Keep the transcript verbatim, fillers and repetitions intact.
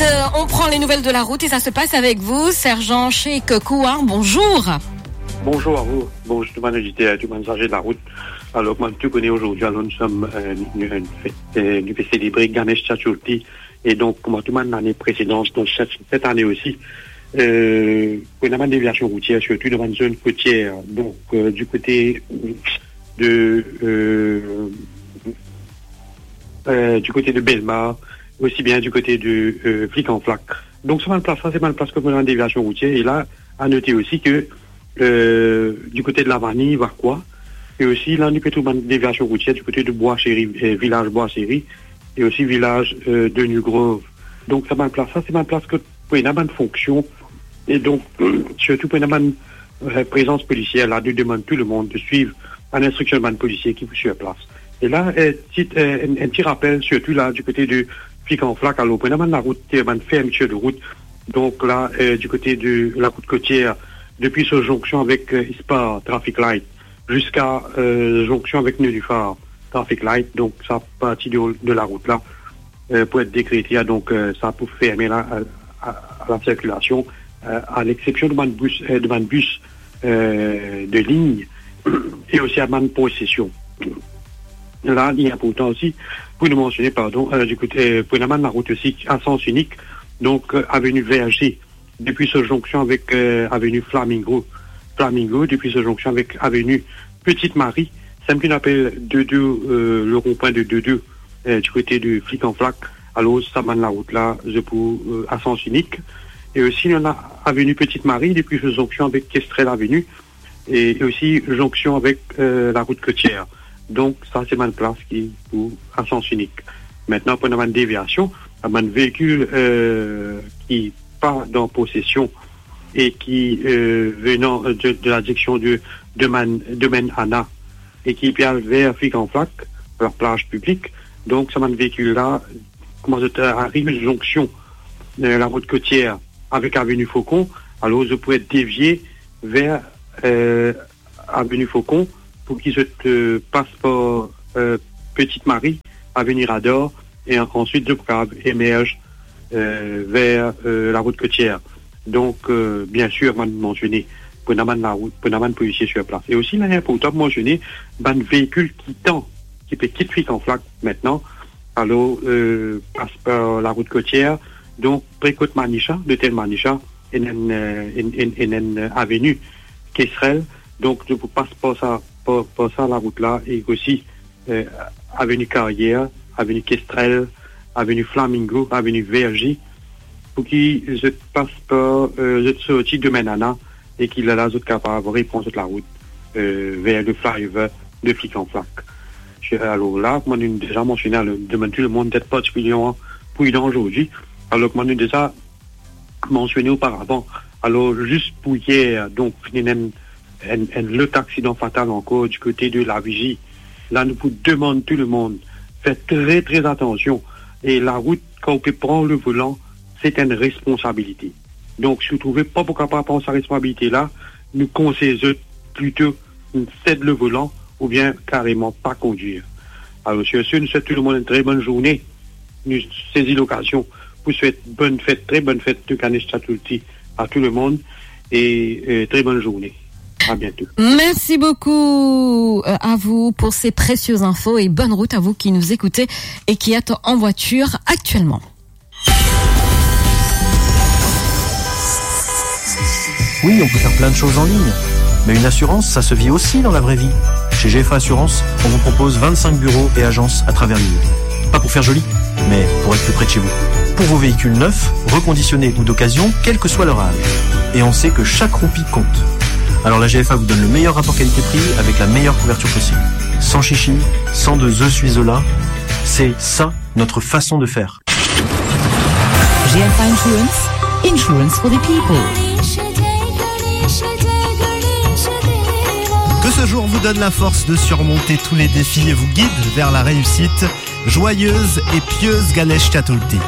Euh, on prend les nouvelles de la route et ça se passe avec vous, sergent Cheikh Kouar, bonjour. Bonjour à vous, bonjour tout le monde auditeur, tout le monde chargé de la route. Alors, kouma tou kone, ozordi, alors, nou, euh, nou, nou, nou pe selebre Ganesh Chaturthi. E donk, kouma tou bann lane presedan, donk set, set ane osi, euh, pou ena bann deviasion routier, sirtou dan bann zone kotier, donk, euh, du kote de, euh, euh, du kote de Belmar, osi bien du kote de, euh, Flic en Flac. Donk, sa bann plas la, se bann plas ki pou ena bann deviasion routier. E la, a note osi ke, euh, du kote de Lavani, Vacoas, e osi la, nou pe trouv bann deviasion routier du kote de Bois Chéri, euh, vilaz Bois Chéri, e osi vilaz, euh, de New Grove. Donk, sa bann plas la, se bann plas ki pou ena bann fonksion, e donk, sirtou pou ena bann, euh, prezans polisier la, nou demann tou lemonn de swiv bann instriksion bann polisier ki pou sir plas. E la, euh, ti, euh, enn, enn ti rapel, sirtou la, du kote de Flic en Flac, alor, pou ena bann larout, euh, bann fermitir de rout, donk la, euh, du kote de larout kotier, depi so zonksion avek, euh, Spar, traffic light, ziska, euh, zonksion avek Nenuphar, traffic light, donk sa parti de, de larout la, euh, pou et dekrete, donk, euh, sa pou ferme la, a, a, a la sirkilasion, euh, a lexsepsion de bann bis, euh, de bann bis, euh, de lign, e osi a bann prosesion. La, li inportan osi pou nou mansione, pardon, euh, du kote, euh, pou ena bann larout osi a sans inik, donk, euh, aveni Verger, depi so zonksion avek, euh, aveni Flamingo, Flamingo, depi so zonksion avek aveni Petite Marie, sa ki nou apel Doudou, euh, le rond-point de Doudou, euh, du kote de Flic en Flac. Alor, sa bann larout la, zot pou, euh, a sans inik. E osi, nou ena aveni Petite Marie, depi so zonksion avek Kestrel Avenue, e, e osi zonksion avek, euh, larout kotier. Donk, sa se bann plas ki pou a sans inik. Aster, pou ena bann deviasion, bann veikil, euh, ki pa dan posesion e ki, euh, venan de, de la direksion de, de Man-, Domaine Anna e ki pe al ver Flic en Flac, la plaz piblik. Donk, sa bann veikil la, kouma zot, euh, ariv zonksion, euh, larout kotier avek aveni Faucon, alor zot pou et devie ver, euh, aveni Faucon, pou ki zot, euh, pas par, euh, Petite Marie, aveni Radar, e an-, answit zot pou kapav emerz, euh, ver, euh, larout kotier. Donk, euh, biensir, mo mansione, pou ena bann larout, pou ena bann polisie sir plas. E osi, li inportan pou mansione, bann veikil kitan, ki pe kit Flic en Flac aster, alor, euh, pas par larout kotier, donk, pre kot Manisha, lotel Manisha, ena enn, euh, enn, enn, ena enn, euh, aveni Kestrel. Donk, zot pou pas par sa, par, par sa larout la, e osi, euh, aveni Carrière, aveni Kestrel, aveni Flamingo, aveni Verger, pou ki zot pas par, euh, zot sorti Domaine Anna, e ki lerla zot kapav repran zot larout, euh, ver le flyover de Flic en Flac. Alor la, kouma nou deza mansione, alor, demann tou lemonn d'et partikilierman pridan ozordi. Alor, kouma nou deza mansione oparavan. Alor, zis pou yer, donk, finn ena enn, enn, enn lot aksidan fatal ankor du kote de La Vigie. La, nou pou demann tou lemonn fer tre, tre atansion. E larout, kan ou pe pran le volan, se enn responsabilite. Donk, si ou trouve pa pou kapav pran sa responsabilite la, nou konsey zot plito sed le volan oubien kareman pa kondwir. Alor, sir se, nou swet tou lemonn enn tre bonn zourne. Nou sezi lokazion pou swet bonn fet, tre bonn fet de Ganesh Chaturthi a tou lemonn e, euh, tre bonn zourne. À bientôt. Merci beaucoup, euh, à vous pour ces précieuses infos et bonne route à vous qui nous écoutez et qui êtes en voiture actuellement. Oui, on peut faire plein de choses en ligne, mais une assurance, ça se vit aussi dans la vraie vie. Chez G F A Assurance, on vous propose vingt-cinq bureaux et agences à travers l'île. Pas pour faire joli, mais pour être plus près de chez vous. Pour vos véhicules neufs, reconditionnés ou d'occasion, quel que soit leur âge. Et on sait que chaque roupie compte. Alors la G F A vous donne le meilleur rapport qualité-prix avec la meilleure couverture possible. Sans chichi, sans de je suis Zola, c'est ça notre façon de faire. G F A Insurance, insurance for the people. Que ce jour vous donne la force de surmonter tous les défis et vous guide vers la réussite. Joyeuse et pieuse Ganesh Chaturthi.